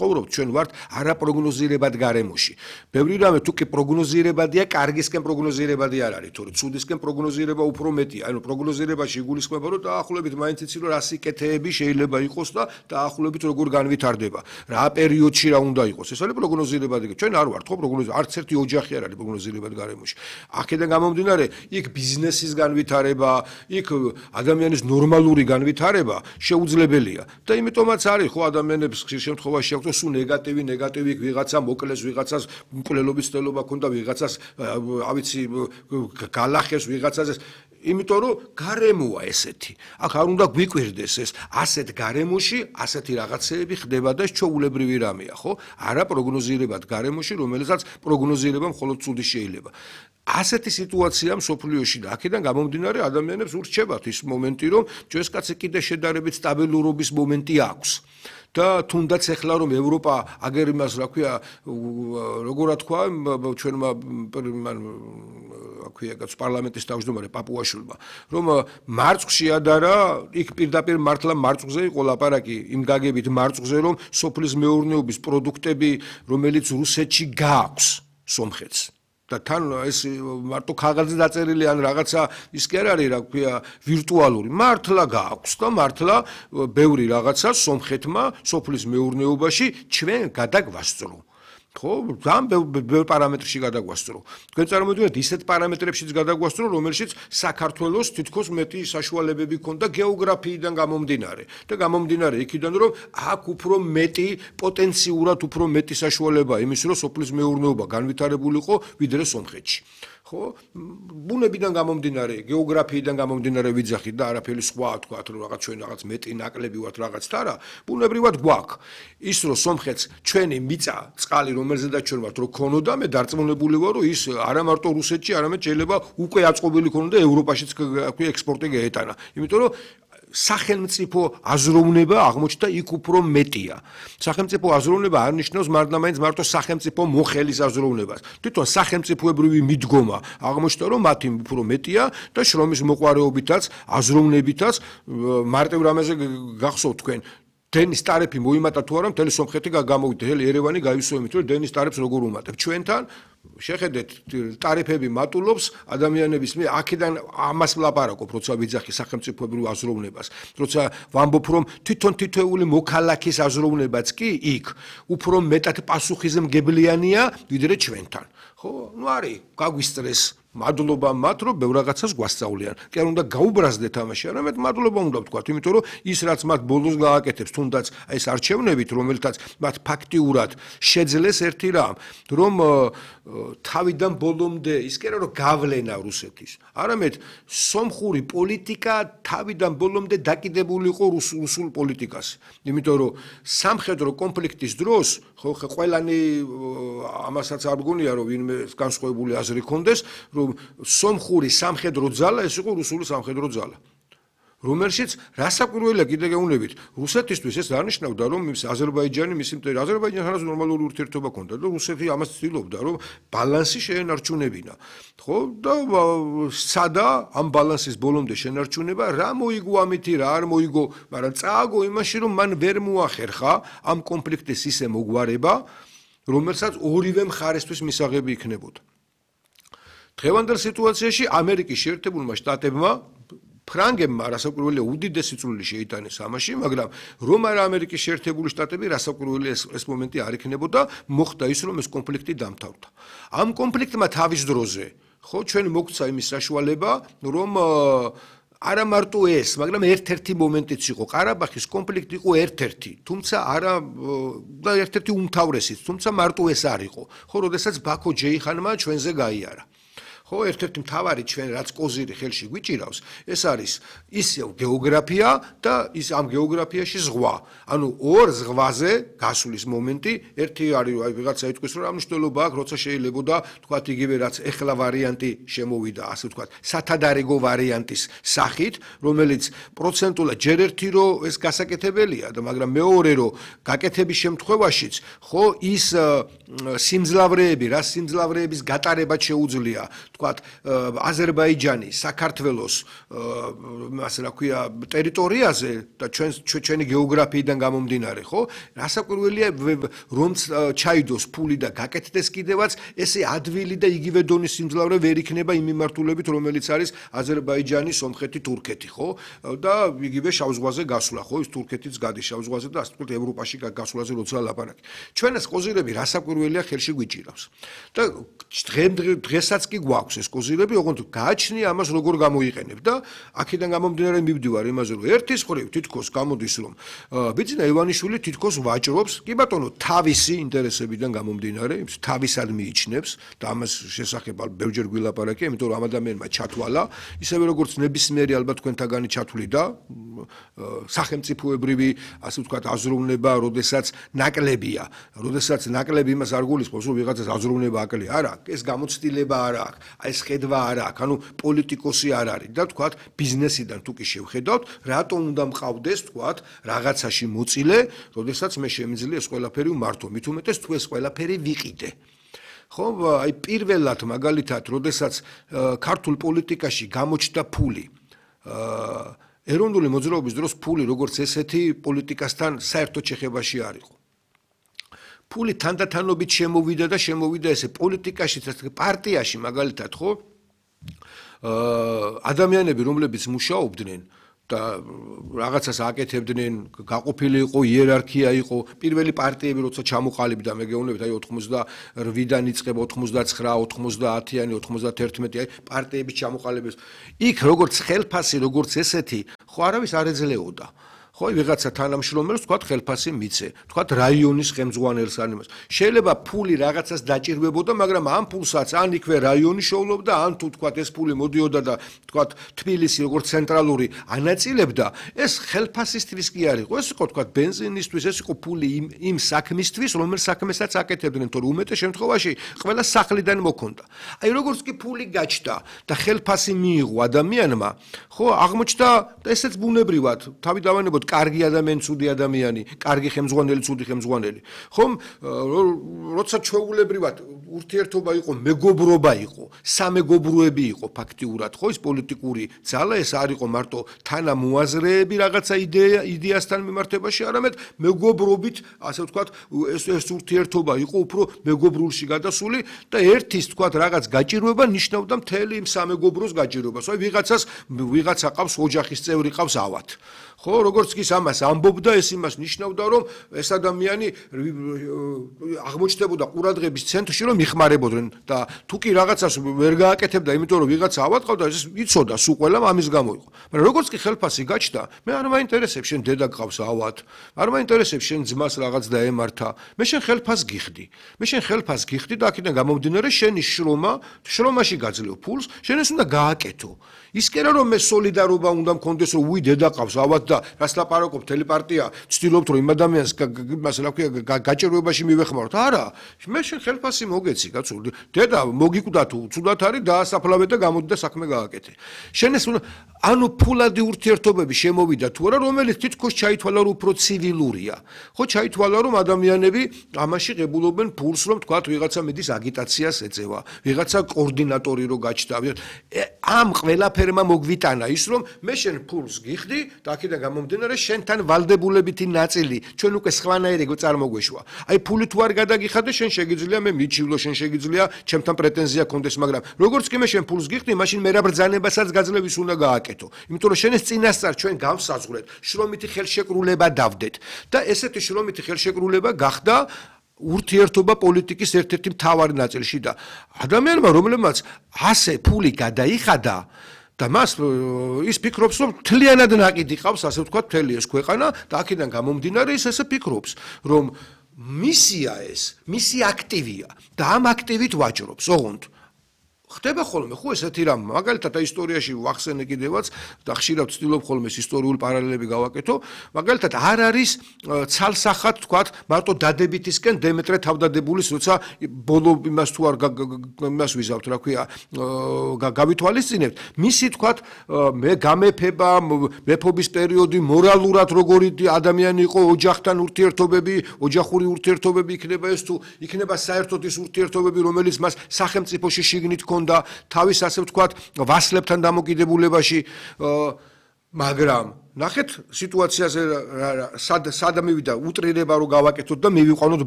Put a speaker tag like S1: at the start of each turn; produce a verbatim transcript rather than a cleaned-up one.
S1: ცხოვრობთ, ჩვენ ვართ არაპროგნოზირებად გარემოში. ბევრი რამე თუ კი პროგნოზირებადია, კარგისკენ პროგნოზირებადი არ არის, თორე ცუდისკენ პროგნოზირება უფრო მეტია. ანუ პროგნოზირებაში იგულისხმება, რომ დაახლოებით მაინც იცი, რომ რა სიკეთეები შეიძლება იყოს და დაახლოებით როგორ განვითარდება. რა პერიოდში რა უნდა იყოს. ეს არის პროგნოზირებადი. ჩვენ არ ვართ ხო პროგნოზირებადი. არც ერთი ოჯახი არ არის პროგნოზირებად გარემოში. აქედან გამომდინარე, იქ ბიზნესის განვითარება, იქ ადამიანის ნორმალური განვითარება შეუძლებელია. და იმიტომაც არის ხო ადამიანებს ხშირ შემთხვევაში აქვს რომ სულ ნეგატივი, ნეგატივი იქ ვიღაცა მოკლეს, ვიღაცას მკვლელობის ცდელობა ქონდა, ვიღაცას ავიცი გალახებს, ვიღაცას იმიტომ რომ გარემოა ესეთი. აქ არ უნდა გვიკვირდეს ეს ასეთ გარემოში, ასეთი რაღაცეები ხდება და ჩვეულებრივი რამეა, ხო? არა პროგნოზირებად გარემოში, რომელსაც პროგნოზირება მხოლოდ ცუდი შეიძლება. ასეთი სიტუაცია მსოფლიოში და აქედან გამომდინარე ადამიანებს ურჩებათ ის მომენტი, რომ ჯვაროსკაცი კიდე შედარებით სტაბილურობის მომენტი აქვს. და თუნდაც ეხლა რომ ევროპა აგერ იმას რა ქვია როგორ თქვა ჩვენმა აქვია კაც პარლამენტის თავმჯდომარე პაპუაშვილმა რომ მარწყში ადარა იქ პირდაპირ მართლა მარწყზე იყო ლაპარაკი იმ გაგებით მარწყზე რომ სოფლის მეურნეობის პროდუქტები რომელიც რუსეთში გააქვს სომხეთს და თან ეს მარტო ქაღალდზე დაწერილი ან რაღაცა ის კი არ არის რა ქვია ვირტუალური მართლა გააქვს და მართლა ბევრი რაღაცა სომხეთმა სოფლის მეურნეობაში ჩვენ გადაგვასწრო ხო ძალიან ბევრ პარამეტრში გადაგვასწრო თქვენ წარმოვიდგინეთ ისეთ პარამეტრებშიც გადაგვასწრო რომელშიც საქართველოს თითქოს მეტი საშუალებები ქონდა გეოგრაფიიდან გამომდინარე და გამომდინარე იქიდან რომ აქ უფრო მეტი პოტენციურად უფრო მეტი საშუალებაა იმის რომ სოფლის მეურნეობა განვითარებულიყო ვიდრე სომხეთში ხო ბუნებიდან გამომდინარე გეოგრაფიიდან გამომდინარე ვიძახით და არაფერი სხვა თქვათ რომ რაღაც ჩვენ რაღაც მეტი ნაკლები ვართ რაღაცთ არა ბუნებრივად გვაქვს ის რომ სომხეთს ჩვენი მიწა წყალი რომელზედაც ჩვენ ვართ რომ ქონოდა მე დარწმუნებული ვარ რომ ის არა მარტო რუსეთში არამედ შეიძლება უკვე აწყობილი ქონოდა ევროპაშიც აქვე ექსპორტი გაეტანა იმიტომ რომ სახელმწიფო აზროვნება აღმოჩნდა იქ უფრო მეტია. სახელმწიფო აზროვნება არ ნიშნავს მარტო მარტო სახელმწიფო მოხელის აზროვნებას. თვითონ სახელმწიფოებრივი მიდგომა აღმოჩნდა რომ მათი უფრო მეტია და შრომის მოყვარეობითაც აზროვნებითაც მარტივ რამეზე გახსოვთ თქვენ დენის ტარიფი მოიმატა თუ არა მთელი სომხეთი გამოვიდა მთელი ერევანი გაივსო იმით რომ დენის ტარიფს როგორ უმატებ ჩვენთან შეხედეთ ტარიფები მატულობს ადამიანების მე აქედან ამას ვლაპარაკობ როცა ვიძახი სახელმწიფოებრივ აზროვნებას როცა ვამბობ რომ თვითონ თითოეული მოქალაქის აზროვნებაც კი იქ უფრო მეტად პასუხისმგებლიანია ვიდრე ჩვენთან ხო ნუ არის გაგვისტრეს მადლობა მათ რომ ბევრ რაღაცას გვასწავლიან. კი არ უნდა გაუბრაზდეთ ამაში, არამედ მადლობა უნდა ვთქვათ, იმიტომ რომ ის რაც მათ ბოლოს გააკეთებს, თუნდაც ეს არჩევნებით, რომელთაც მათ ფაქტიურად შეძლეს ერთი რამ, რომ თავიდან ბოლომდე ის კი არა რომ გავლენა რუსეთის, არამედ სომხური პოლიტიკა თავიდან ბოლომდე დაკიდებული იყო რუსულ პოლიტიკას. იმიტომ რომ სამხედრო კონფლიქტის დროს, ხო, ყველანი ამასაც არ გონია რომ ვინმე განსხვავებული აზრი ქონდეს, რომ სომხური სამხედრო ძალა ეს იყო რუსული სამხედრო ძალა. რომელშიც რასაკვირველია კიდე გეუბნებით რუსეთისთვის ეს არნიშნავდა რომ აზერბაიჯანი მისი მტერი აზერბაიჯანთან ნორმალური ურთიერთობა ჰქონდა და რუსეთი ამას ცდილობდა რომ ბალანსი შეენარჩუნებინა ხო და სადა ამ ბალანსის ბოლომდე შენარჩუნება რა მოიგო ამითი რა არ მოიგო მაგრამ წააგო იმაში რომ მან ვერ მოახერხა ამ კონფლიქტის ისე მოგვარება რომელსაც ორივე მხარესთვის მისაღები იქნებოდა დღევანდელ სიტუაციაში ამერიკის შეერთებულმა შტატებმა ფრანგებმა რასაკვირველია უდიდესი წვლილი შეიტანეს ამაში, მაგრამ რომ არა ამერიკის შეერთებული შტატები რასაკვირველი ეს, ეს მომენტი არ იქნებოდა, მოხდა ის რომ ეს კონფლიქტი დამთავრდა. ამ კონფლიქტმა თავის დროზე, ხო, ჩვენ მოგცა იმის საშუალება, რომ არა მარტო ეს, მაგრამ ერთ-ერთი მომენტიც იყო. ყარაბაღის კონფლიქტი იყო ერთ-ერთი, თუმცა არა და ერთ-ერთი უმთავრესიც, თუმცა მარტო ეს არ იყო. ხო, როდესაც ბაქო ჯეიხანმა ჩვენზე გაიარა. ხო, ერთ-ერთი მთავარი ჩვენ რაც კოზირი ხელში გვიჭირავს, ეს არის ისევ გეოგრაფია და ის ამ გეოგრაფიაში ზღვა. ანუ ორ ზღვაზე გასulis მომენტი, ერთი არის აი ვიღაცა იტყვის რომ რა მნიშვნელობა აქვს, როცა შეიძლებოდა თქვათ იგივე რაც ეხლა ვარიანტი შემოვიდა, ასე ვთქვათ, სათადარიგო ვარიანტის სახით, რომელიც პროცენტულად ჯერ ერთი რომ ეს გასაკეთებელია და მაგრამ მეორე რომ გაკეთების შემთხვევაშიც, ხო, ის სიმძლავრეები, რა სიმძლავრეების გატარება შეუძლია თქვათ, აზერბაიჯანის, საქართველოს, ასე რა ქვია, ტერიტორიაზე და ჩვენ ჩვენი გეოგრაფიიდან გამომდინარე, ხო? რასაკვირველია, რომ ჩაიდოს ფული და გაკეთდეს კიდევაც, ესე ადვილი და იგივე დონის სიმძლავრე ვერ იქნება იმ მიმართულებით, რომელიც არის აზერბაიჯანი, სომხეთი, თურქეთი, ხო? და იგივე შავ ზღვაზე გასვლა, ხო? ის თურქეთიც გადის შავ ზღვაზე და ასე ვთქვათ, ევროპაში გასვლაზე როცა ლაპარაკი. ჩვენს კოზირები რასაკვირველია ხელში გვიჭირავს. და დღესაც კი გვაქვს ეს კოზირები, ოღონდ გააჩნია ამას როგორ გამოიყენებ და აქედან გამომდინარე მივდივარ იმაზე, რომ ერთის მხრივ თითქოს გამოდის, რომ ბიძინა ივანიშვილი თითქოს ვაჭრობს, კი ბატონო, თავისი ინტერესებიდან გამომდინარე, თავისად მიიჩნევს და ამას შესახებ ბევრჯერ გვილაპარაკია, იმიტომ რომ ამ ადამიანმა ჩათვალა, ისევე როგორც ნებისმიერი ალბათ თქვენთაგანი ჩათვლიდა, სახელმწიფოებრივი, ასე ვთქვათ, აზროვნება, როდესაც ნაკლებია, როდესაც ნაკლები იმას არ გულისხმობს, რომ ვიღაცას აზროვნება აკლია, არა, ეს გამოცდილება არ აქვს, აი ეს ხედვა არ აქვს, ანუ პოლიტიკოსი არ არის და ვთქვათ, ბიზნესიდან თუ კი შევხედავთ, რატომ უნდა მყავდეს, ვთქვათ, რაღაცაში მოწილე, როდესაც მე შემიძლია ეს ყველაფერი ვმართო, მით უმეტეს თუ ეს ყველაფერი ვიყიდე. ხო, აი პირველად მაგალითად, როდესაც ქართულ პოლიტიკაში გამოჩნდა ფული, ეროვნული მოძრაობის დროს ფული როგორც ესეთი პოლიტიკასთან საერთოდ შეხებაში არ იყო. ფული თანდათანობით შემოვიდა და შემოვიდა ესე პოლიტიკაში, პარტიაში მაგალითად, ხო? ადამიანები, რომლებიც მუშაობდნენ და რაღაცას აკეთებდნენ, გაყოფილი იყო, იერარქია იყო, პირველი პარტიები როცა ჩამოყალიბდა, მე გეუბნებით, აი ოცდაოთხიდან იწყება ოცდაცხრა, ოცდაათიანი, ოცდაათერთმეტი, აი პარტიების ჩამოყალიბების. იქ როგორც ხელფასი, როგორც ესეთი, ხო არავის არ ეძლეოდა. ხო, ვიღაცა თანამშრომელს თქვათ ხელფასი მიცე, თქვათ რაიონის ხელმძღვანელს ან იმას. შეიძლება ფული რაღაცას დაჭირვებოდა, მაგრამ ამ ფულსაც ან იქვე რაიონი შოვლობდა, ან თუ თქვათ ეს ფული მოდიოდა და თქვათ თბილისი როგორც ცენტრალური ანაწილებდა, ეს ხელფასისთვის კი არ იყო, ეს იყო თქვათ ბენზინისთვის, ეს იყო ფული იმ იმ საქმისთვის, რომელ საქმესაც აკეთებდნენ, თორე უმეტეს შემთხვევაში ყველა სახლიდან მოქონდა. აი როგორც კი ფული გაჩნდა და ხელფასი მიიღო ადამიანმა, ხო, აღმოჩნდა ესეც ბუნებრივად, თავი დავანებოთ კარგი ადამიანი, ცუდი ადამიანი, კარგი ხელმძღვანელი, ცუდი ხელმძღვანელი. ხომ, როცა ჩვეულებრივად ურთიერთობა იყო, მეგობრობა იყო, სამეგობროები იყო ფაქტიურად, ხო, ის პოლიტიკური ძალა ეს არ იყო მარტო თანამოაზრეები რაღაცა იდეა, იდეასთან მიმართებაში, არამედ მეგობრობით, ასე ვთქვათ, ეს ეს ურთიერთობა იყო უფრო მეგობრულში გადასული და ერთის ვთქვათ რაღაც გაჭირვება ნიშნავდა მთელი იმ სამეგობროს გაჭირვებას. აი ვიღაცას ვიღაცა ყავს ოჯახის წევრი ყავს ავად. ხო, როგორც კი ამას ამბობდა, ეს იმას ნიშნავდა, რომ ეს ადამიანი აღმოჩნდებოდა ყურადღების ცენტრში, რომ იხმარებოდნენ და თუ კი რაღაცას ვერ გააკეთებდა, იმიტომ რომ ვიღაცა ავად ყავდა, ეს იცოდა სულ ყველამ ამის გამო იყო. მაგრამ როგორც კი ხელფასი გაჩნდა, მე არ მაინტერესებს შენ დედა ყავს ავად, არ მაინტერესებს შენ ძმას რაღაც დაემართა, მე შენ ხელფასს გიხდი. მე შენ ხელფასს გიხდი და აქედან გამომდინარე შენი შრომა, შრომაში გაძლევ ფულს, შენ ეს უნდა გააკეთო. ის კი არა რომ მე სოლიდარობა უნდა მქონდეს, რომ უი დედა ყავს ავად და რას ლაპარაკობ, მთელი პარტია ცდილობთ რომ იმ ადამიანს იმას რა ქვია გაჭირვებაში მივეხმაროთ. არა, მე შენ ხელფასი მოგეცი, კაცო. დედა მოგიკვდა თუ ცუდად არის დაასაფლავე და გამოდი და საქმე გააკეთე. შენ ეს ანუ ფულადი ურთიერთობები შემოვიდა თუ არა, რომელიც თითქოს ჩაითვალა რომ უფრო ცივილურია. ხო, ჩაითვალა რომ ადამიანები ამაში ღებულობენ ფულს, რომ თქვათ ვიღაცა მიდის აგიტაციას ეწევა, ვიღაცა კოორდინატორი რო გაჩნდა. ამ ყველაფერმა მოგვიტანა ის რომ მე შენ ფულს გიხდი და აქედან გამომდინარე შენთან ვალდებულებითი ნაწილი ჩვენ უკვე სხვანაირი წარმოგვეშვა. აი ფული თუ არ გადაგიხადე შენ შეგიძლია მე მიჩივლო, შენ შეგიძლია ჩემთან პრეტენზია კონდეს, მაგრამ როგორც კი მე შენ ფულს გიხდი, მაშინ მე რა ბრძანებასაც გაძლევის უნდა გააკეთო. იმიტომ რომ შენ ეს წინასწარ ჩვენ გავსაზღვრეთ, შრომითი ხელშეკრულება დავდეთ და ესეთი შრომითი ხელშეკრულება გახდა ურთიერთობა პოლიტიკის ერთ-ერთი მთავარი ნაწილში და ადამიანმა რომლებმაც ასე ფული გადაიხადა და მას ის ფიქრობს რომ თლიანად ნაკიდი ყავს, ასე ვთქვათ, მთელი ეს ქვეყანა და აქედან გამომდინარე ის ესე ფიქრობს, რომ მისია ეს, მისი აქტივია და ამ აქტივით ვაჭრობს, ოღონდ ხდება ხოლმე, ხო ესეთი რამ, მაგალითად ისტორიაში ვახსენე კიდევაც და ხშირად ვცდილობ ხოლმე ეს ისტორიული პარალელები გავაკეთო, მაგალითად არ არის ცალსახად თქვათ, მარტო დადებითისკენ დემეტრე თავდადებულის, როცა ბოლო იმას თუ არ იმას ვიზავთ, რა ქვია, გავითვალისწინებთ, მისი თქვათ, მე გამეფება, მეფობის პერიოდი, მორალურად როგორი ადამიანი იყო, ოჯახთან ურთიერთობები, ოჯახური ურთიერთობები იქნება ეს თუ იქნება საერთოდ ის ურთიერთობები, რომელიც მას სახელმწიფოში შიგნით ჰქონდა თავის ასე ვთქვათ ვასლებთან დამოკიდებულებაში მაგრამ ნახეთ სიტუაციაზე სად სად მივიდა უტრირება რომ გავაკეთოთ და მივიყვანოთ